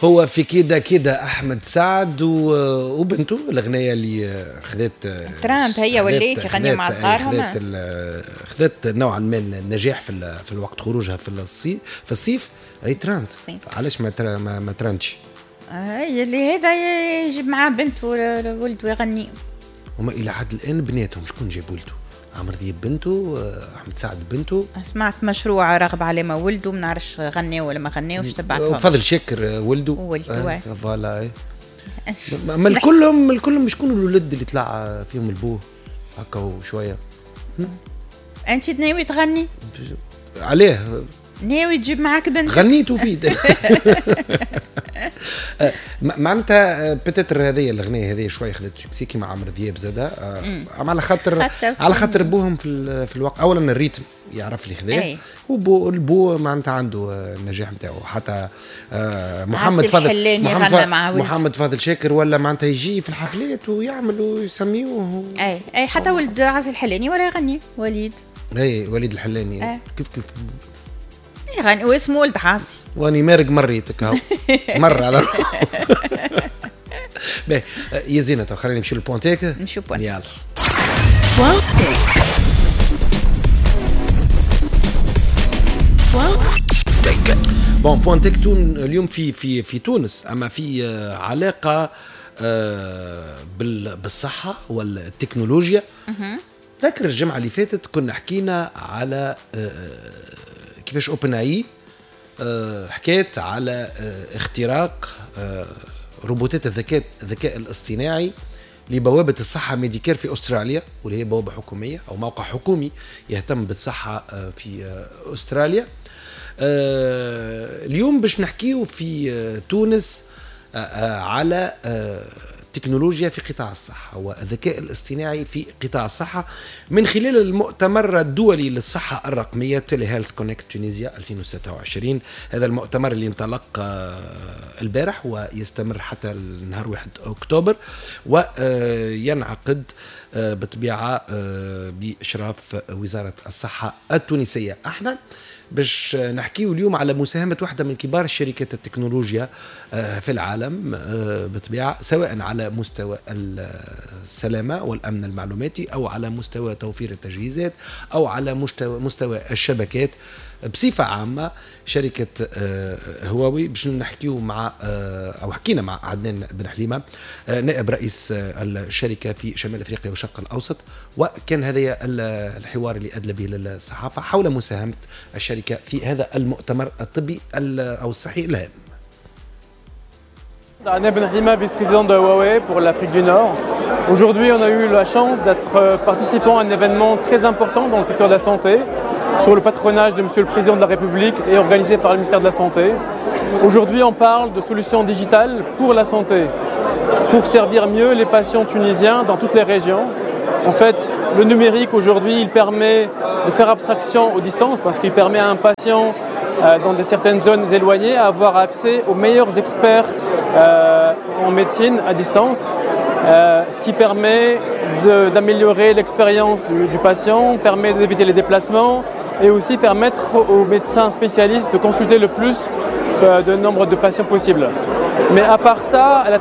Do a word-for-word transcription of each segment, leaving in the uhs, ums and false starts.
هو في كده كده احمد سعد وبنته، الاغنية اللي خذت ترند هي ولات يغنيوا مع صغارهم، خذت خذت نوعا ما النجاح في في الوقت خروجها في الصيف في الصيف اي ترند. علاش ما ما, ما ترندش؟ اي اللي هذا يجيب معاه بنته ولده ويغني. هما الى حد الان بناتهم شكون جاب ولده؟ عمرو دياب بنته، احمد سعد بنته. سمعت مشروع راغب علامة ولده، ما نعرفش غناو ولا ما غناوش، تبعتهم. فضل شاكر ولده ولده آه. voilà. ما الكلهم الكلهم شكون الولد اللي طلع فيهم البوه هكا وشوية. انت ناوي تغني؟ عليه ناوي تجيب معاك بنتك؟ غنيت وفيت. معناتها peut-être هذه الاغنية هذه شوية خذت succès كيما عمرو دياب زاده، على خاطر على خاطر بوهم في في الوقت. اولا ال rythme يعرف اللي خذاه، وبو البو معناتها عنده النجاح نتاعو. حتى محمد فاضل محمد, محمد فاضل شاكر ولا معناتها يجي في الحفلات ويعمل ويسميوه. اي اي حتى ولد عاصي الحلاني ولا يغني وليد. اي وليد الحلاني كيف كيف يغني واسمه ولد عاصي. واني مارق مريتك اهو مر على روحه. باهي يا زينة، تو خلينا نمشيو لل point tech. نمشيو point. يلا point tech. point tech. bon point tech تون اليوم في في في تونس، اما في علاقة بالصحة والتكنولوجيا. ذكر الجمعة اللي فاتت كنا حكينا على كيفاش OpenAI حكيت على اختراق روبوتات الذكاء الذكاء الاصطناعي لبوابة الصحة Medicare في أستراليا، واللي هي بوابة حكومية أو موقع حكومي يهتم بالصحة في أستراليا. اليوم باش نحكيو في تونس على التكنولوجيا في قطاع الصحة والذكاء الاصطناعي في قطاع الصحة من خلال المؤتمر الدولي للصحة الرقمية Telehealth Connect Tunisia ألفين وستة وعشرين. هذا المؤتمر اللي انطلق البارح ويستمر حتى النهار واحد أكتوبر، وينعقد بطبيعة بإشراف وزارة الصحة التونسية. احنا باش نحكيو اليوم على مساهمة واحدة من كبار شركات التكنولوجيا في العالم بطبيعة، سواء على مستوى السلامة والأمن المعلوماتي أو على مستوى توفير التجهيزات أو على مستوى مستوى الشبكات بصفة عامة، شركة هواوي. باش نحكيو مع أو حكينا مع عدنان بن حليمة نائب رئيس الشركة في شمال أفريقيا والشرق الأوسط، وكان هذا الحوار اللي أدلى به للصحافة حول مساهمة الشركة في هذا المؤتمر الطبي أو الصحي الهام. Adnan Ben Halima, vice-président de Huawei pour l'Afrique du Nord. Aujourd'hui, on a eu la chance d'être participant à un événement très important dans le secteur de la santé, sur le patronage de Monsieur le Président de la République et organisé par le ministère de la Santé. Aujourd'hui, on parle de solutions digitales pour la santé, pour servir mieux les patients tunisiens dans toutes les régions. En fait, le numérique aujourd'hui, il permet de faire abstraction aux distances parce qu'il permet à un patient euh, dans de certaines zones éloignées à avoir accès aux meilleurs experts euh, en médecine à distance, euh, ce qui permet d'améliorer l'expérience du, du patient, permet d'éviter les déplacements et aussi permettre aux médecins spécialistes de consulter le plus euh, de nombre de patients possible. Mais à part ça, la,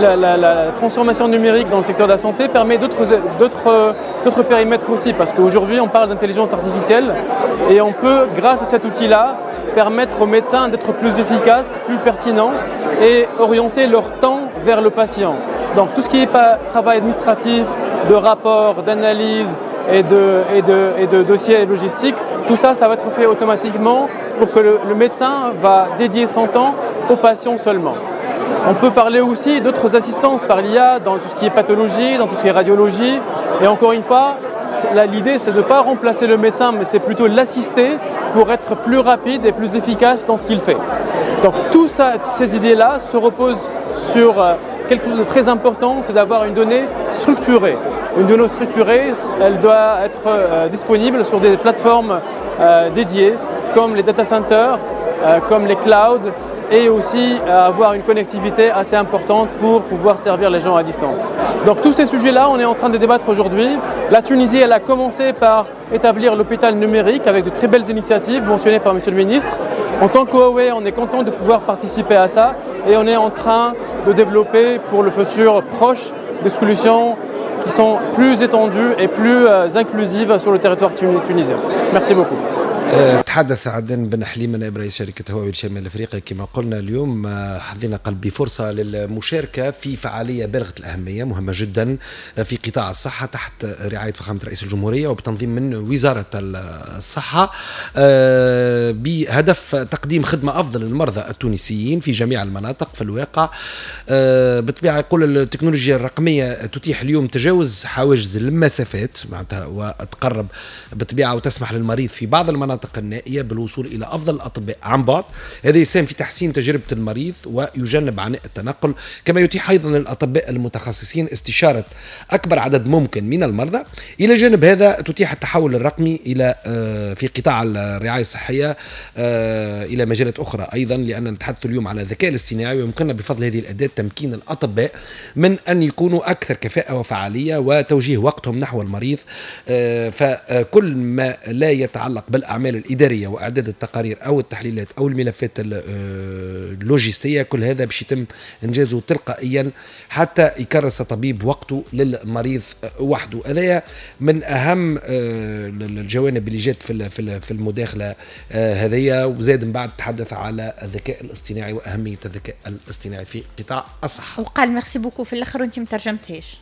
la, la, la transformation numérique dans le secteur de la santé permet d'autres périmètres aussi, parce qu'aujourd'hui on parle d'intelligence artificielle et on peut, grâce à cet outil-là, permettre aux médecins d'être plus efficaces, plus pertinents et orienter leur temps vers le patient. Donc tout ce qui est pas travail administratif, de rapport, d'analyse et de, et de, et de dossiers logistiques, tout ça, ça va être fait automatiquement pour que le, le médecin va dédier son temps aux patients seulement. On peut parler aussi d'autres assistances par l'I A dans tout ce qui est pathologie, dans tout ce qui est radiologie. Et encore une fois, l'idée c'est de ne pas remplacer le médecin, mais c'est plutôt l'assister pour être plus rapide et plus efficace dans ce qu'il fait. Donc tout ça, ces idées-là se reposent sur quelque chose de très important, c'est d'avoir une donnée structurée. Une donnée structurée, elle doit être disponible sur des plateformes dédiées, comme les data centers, comme les clouds, et aussi avoir une connectivité assez importante pour pouvoir servir les gens à distance. Donc tous ces sujets-là, on est en train de débattre aujourd'hui. La Tunisie, elle a commencé par établir l'hôpital numérique avec de très belles initiatives mentionnées par Monsieur le ministre. En tant que Huawei, on est content de pouvoir participer à ça et on est en train de développer pour le futur proche des solutions qui sont plus étendues et plus inclusives sur le territoire tunisien. Merci beaucoup. تحدث عدنان بن حليمة، نائب رئيس شركة هواوي لشمال افريقيا. كما قلنا اليوم حظينا قال بفرصة للمشاركة في فعالية بالغة الأهمية، مهمة جدا في قطاع الصحة، تحت رعاية فخامة رئيس الجمهورية وبتنظيم من وزارة الصحة، بهدف تقديم خدمة أفضل للمرضى التونسيين في جميع المناطق. في الواقع بالطبيعة يقول التكنولوجيا الرقمية تتيح اليوم تجاوز حواجز المسافات معناتها وتقرب بالطبيعة وتسمح للمريض في بعض المناطق النائية بالوصول إلى أفضل الأطباء عن بعد. هذا يساهم في تحسين تجربة المريض ويجنب عناء التنقل، كما يتيح أيضا للأطباء المتخصصين استشارة أكبر عدد ممكن من المرضى. إلى جانب هذا تتيح التحول الرقمي إلى في قطاع الرعاية الصحية إلى مجالات أخرى أيضا، لأن نتحدث اليوم على الذكاء الاصطناعي، ويمكننا بفضل هذه الأداة تمكين الأطباء من أن يكونوا أكثر كفاءة وفعالية وتوجيه وقتهم نحو المريض. فكل ما لا يتعلق بالأعمال الإدارية وإعداد التقارير أو التحليلات أو الملفات اللوجستية، كل هذا باش يتم إنجازه تلقائيا حتى يكرس الطبيب وقته للمريض وحده. هذا من أهم الجوانب اللي جات في في المداخلة هذيا. وزاد من بعد تحدث على الذكاء الاصطناعي وأهمية الذكاء الاصطناعي في قطاع الصحة. وقال merci beaucoup في الآخر وأنت ما ترجمتهاش.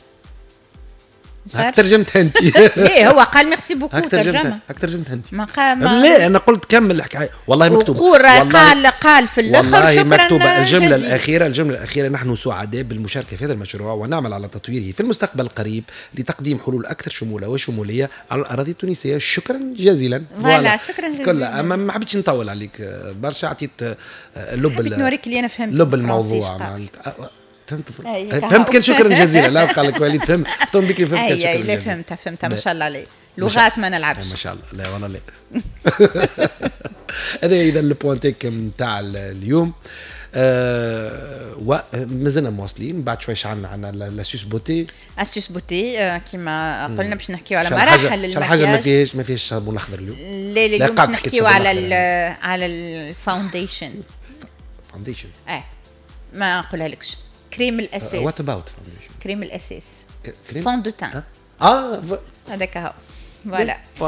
هاك ترجمتها انت. ليه هو قال merci beaucoup ترجمه. هاك ترجمتها انت. ما قال ما لا، انا قلت كمل الحكايه، والله مكتوب. قال قال في الاخر والله شكرا مكتوبة الجملة الاخيره، الجملة الاخيره: نحن سعداء بالمشاركة في هذا المشروع ونعمل على تطويره في المستقبل القريب لتقديم حلول اكثر شموله وشموليه على الاراضي التونسيه. شكرا جزيلا. voilà، شكرا جزيلا. كلها اما ما حبيتش نطول عليك برشا، عطيت لب حبيت نوريك اللي انا فهمت لب الموضوع. فهمت فهمت كان شكرا جزيلا. لا، قال لك وليد فهم فهمت بك، فهمت. كان شكرا. لا، فهمتها فهمتها، ما شاء الله عليك، لغات ما نلعبش. ما شاء الله، لا والله لا. هذا اذا ال point tech نتاع اليوم. آه ومازلنا مواصلين بعد شوي. عندنا عندنا l'astuce beauté. astuce beauté، كيما قلنا باش نحكيو على مراحل المكياج. حاجة ما فيهاش ما فيهاش صابون اخضر اليوم. لا لا، اليوم باش نحكيو على ال على ال foundation. foundation. اه ما نقولها لكش، كريم الاساس. what about foundation؟ كريم الاساس، fond de teint. اه هذاك هو، voilà.